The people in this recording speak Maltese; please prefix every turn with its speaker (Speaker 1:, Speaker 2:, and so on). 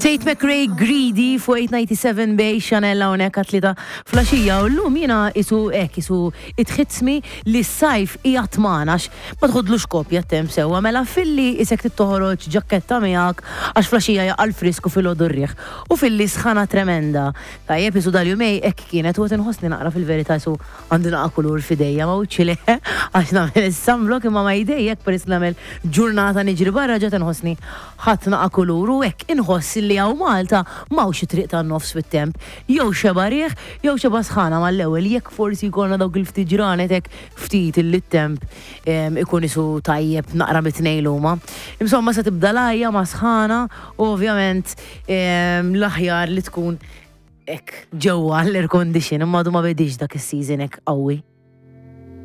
Speaker 1: Tate McRae Greedy fuq 897 Bay Chanel hawnhekk għat-tlieta flaxija u llum jiena isu hekk isu itħitsmi li s-sajf qiegħed magħna għax ma tħodlux kopja t-temp sewwa mela filli isek trid toħroġ ġakketta miegħek għax flaxija jaqa' l-frisk u filgħodu r-riħ u filli sħana tremenda. Tajjeb isu dal-jumej hekk kienet u qed inħossni naqra fil-verità isu Għandi naqa' kulur f'idejja ma wiċċi le għax nagħmel is-sunblock imma ma' idejja hekk peress li nagħmel ġurnata niġri barra ġa tinħossni ħadt naqa' kulur u hekk inħoss li hawn Malta m'hawnx it-triq tan-nofs fit-temp. Jew xeba' riħ jew xeba' sħana mal-ewwel jekk forsi jkollna dawk il-ftit ġranet hekk ftit illi t-temp ikun isu tajjeb naqra mit-tnejn li huma. Insomma se tibda l-għajja ma' sħana u ovvjament l-aħjar li tkun Hekk, ġewwa l-air condition, imma għadu ma bediex dak is-season hekk qawwi.